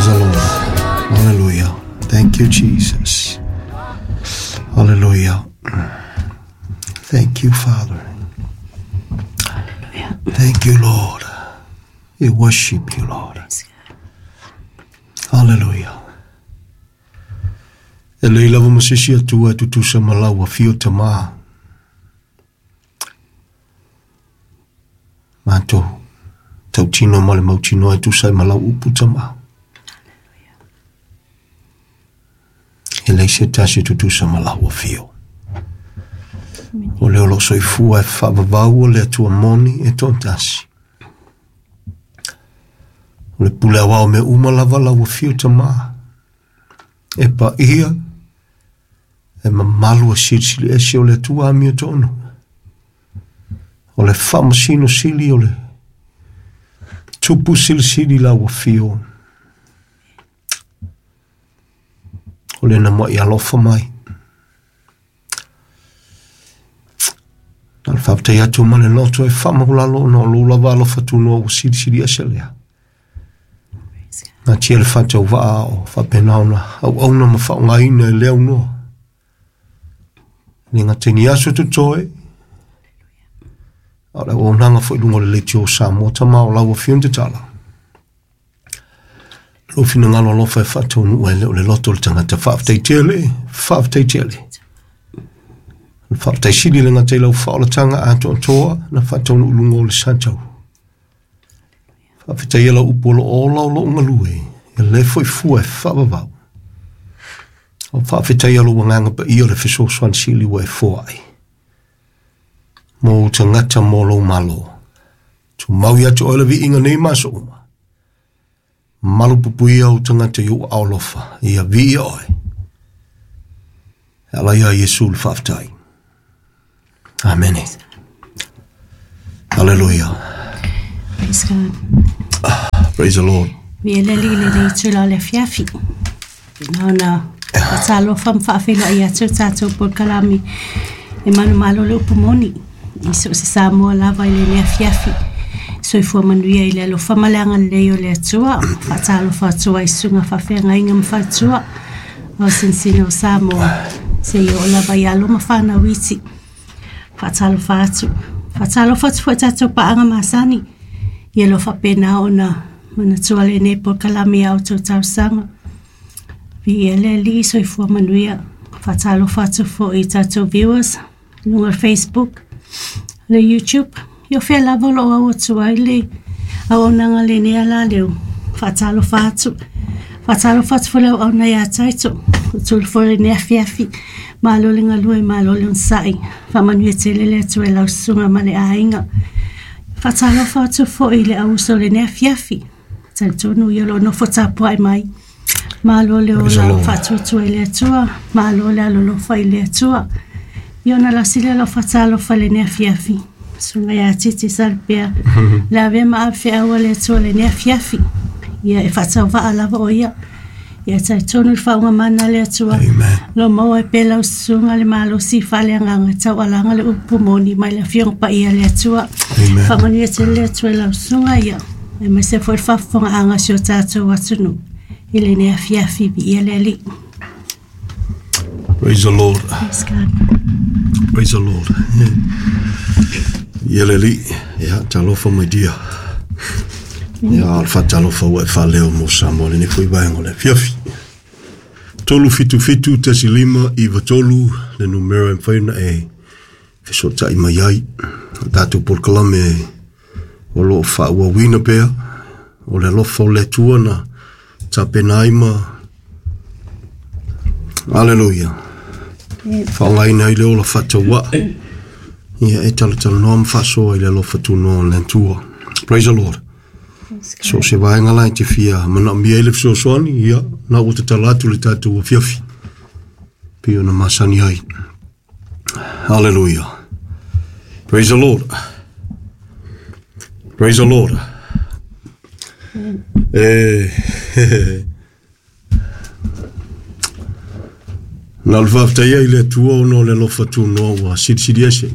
Praise the Lord. Hallelujah. Thank you, Jesus. Hallelujah. Thank you, Father. Hallelujah. Thank you, Lord. We worship you, Lord. Praise God. Hallelujah. E lei lava ma se isi Atua e tutusa ma lau afio Tamā. Matou tautino ma le mautinoa e tusa ai ma lau upu Tamā. E leai se tasi e tutusa ma lau afio. O lea o lo o soifua e faavavau o le Atua moni e toatasi. O le pule aoao mea uma lava lau afio Tamā. E paia, e mamalu e silisili ese o le Atua amiotonu. O le faamasino sili o le tupu silisili lau afio. O le na mai alofa mai. Na le faafetai atu ma le loto e faamaulalo ona o lou lava alofa tunoa ua silisili ese lea. Natia le faatauvaa o faapena ona auauna ma faaaogaina e le aunoa. E le gata i ni aso totoe, a o le auaunaga foi i luga o le leitio o Samoa Tama o lau Afioga tatala. Lou finagalo alofa e faataunuu ai le o le loto o le tagata. Faafetai tele, faafetai tele. O le faafetai sili le gata i lau faaolataga atoatoa na faataunuu i luga o le satau. Faafetai lau upu o lo o ola o lou galue, e le foi fua e faavavau. O faafetai lou agaga paia o le fesoasoani sili ua e foai. Mo ou tagata mo lou malo. Tumau ia te oe le viiga nei ma aso uma. Malupuipuia ou tagata i ou aao alofa, ia viia oe. E ala ia Iesu le faafetai. Amene. Hallelujah. Praise God. Praise the Lord. Viia le Alii i lenei itula o le afiafi. Na ona faatalofa ma faafeiloai atu le tatou polokalame e manumalo le upu moni i so o se Samoa lava i lenei afiafi. Soifua manuia i le alofa ma le agalelei o le Atua. Faatalofa atu ai i susuga faafeagaiga ma faletua o sinosino o Samoa seia oo lava i alo ma fanau iti. Faatalofa atu. Faatalofa atu foi i tatou paaga masani. Ia lo faapena ona manatua lenei polokalame i a outou talosaga. Viia le Alii, soifua manuia. Faatalofa atu foi i tatou viewers i luga o le Facebook, le YouTube, ia o fea lava o lo o au atu ai le auaunaga lenei ala leo. Faatalofa atu. Faatalofa atu foi le auauna ia Taito, o tulu foi lenei afiafi. Malo le galue, malo le onosai. Faamanuia tele le Atua i lau susuga ma le aiga. Faatalofa atu foi i le auuso o lenei afiafi. Talitonu ia o lo o nofo tapuai mai. Malo le Praise the ola Lord. faatuatua i le Atua, malo le alolofa i le Atua. Ia ona lasi lea o lau faatalofa i lenei afiafi. Susuga ia Titi Salpea, le avea ma ave feau a le Atua i lenei afiafi. Ia e faatauvaa lava o ia. Ia talitonu i le faaugamana a le Atua. Amen. Lo maua ai pea lau susuga le malosi faaleagaga taualaga le upu moni mai le Afioga Paia a le Atua. Amen. Faamanuia tele le Atua i lau susuga ia. Aemaise foi le faafofogaaga a si o tatou atunuu i lenei afiafi viia le Alii. Praise the Lord. Praise God. Praise the Lord. Ia le Alii, ia talofa mai dia. Ia o le faatalofa ua e faaleo mo Samoa lenei foi vaega o le afiafi. 377 15 93 le numera e mafai ona e fesootai mai ai. O tatou polokalame o lo o faaauauina pea o le alofa o le Atua na tapena ai ma Hallelujah. Faaaogaina ai le ola faatauaa. Ia e talatalanoa ma faasoa i le alofa tunoa o le Atua. Praise the Lord. Praise So God. se vaega la e te fia manaomia ai le fesoasoani, ia, na ua tatala atu le tatou afiafi. Pei ona masani ai. Hallelujah. Praise the Lord. Praise the Lord. E, na o le faafetai ai i le Atua ona o le alofa tunoa ua silisili ese.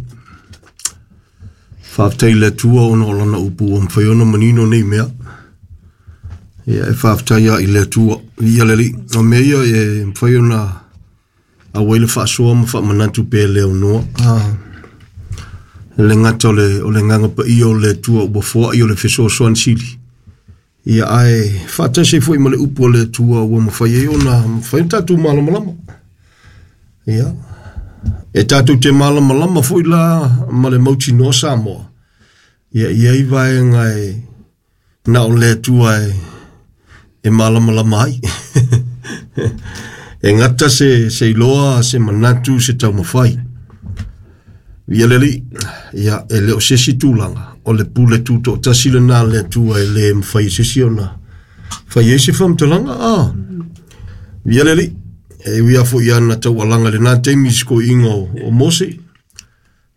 Faafetai i le Atua ona o lana upu ua mafai ona manino nei mea. Ia e faafetai i le Atua, viia le Alii. O mea ia e mafai ona auai le faasoa ma faamanatu pea le aunoa. E le gata o le agaga paia o le Atua ua foai o le fesoasoani sili. Ia ae faatasi ai foi ma le upu a le Atua ua mafai ai ona mafai ona tatou malamalama. Ia, e tatou te malamalama foi la ma le mautinoa Samoa. Ia e i ai vaega e na o le Atua e malamalama ai. E gata se iloa, se manatu, se taumafai. Ia le Alii, ia e le o se isi tulaga, o le pule tutoatasi lena a le Atua e le mafai e se isi ona fai ai se faamatalaga. Ia le Alii, e ui lava foi ia na taualaga i lena taimi i si toeaina o Mose,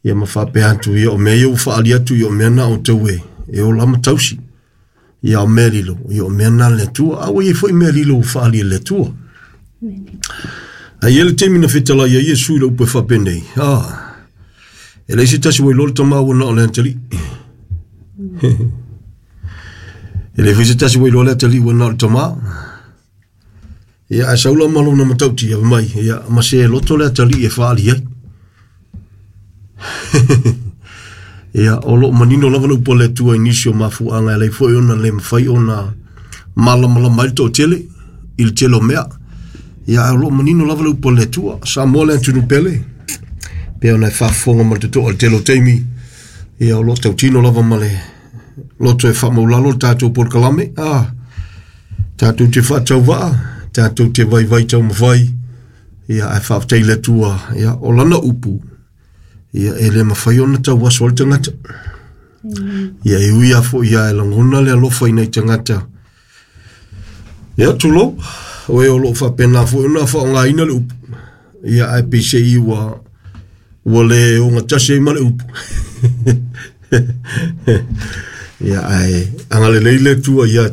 ia ma faapea atu, ia o mea ia ua faaali atu, ia o mea na outou e ola ma tausi. Ia o mea lilo, ia o mea na a le Atua. A ua i ai foi mea lilo ua faaali e le Atua. Ae i ai le taimi na fetalai ai Iesu i le upu e faapenei, e leai se tasi ua iloa le Tama ua na o le Atalii. E leai foi se tasi ua iloa le Atalii ua na o le Tama. Ia, ae sau la ma lona matautia mai, ia, ma se loto le Atalii e faaali ai. Ia, o loo manino lava le upu a le Atua i nisi o mafuaaga e ala ai foi ona le mafai ona malamalama ai le toatele i le tele o mea. Ia, ae o loo manino lava le upu a le Atua. Samoa le atunuu pele, pei ona e faafofoga ma le totoa i le tele o taimi, ia o loo tautino lava ma le loto e faamaulalo le tatou polokalame. Tatou te faatauvaa, tatou te vaivai taumafai, ia ae faafetai i le Atua, ia o lana upu, ia e le mafai ona tauaso ai le tagata. Ia e ui lava foi ia e lagona le alofa i nai tagata. Ia tulou, o e o loo faapena foi ona faaaogaina le upu, ia ae peiseai ua le ogatasi ai ma le upu. Ia ae agalelei le Atua ia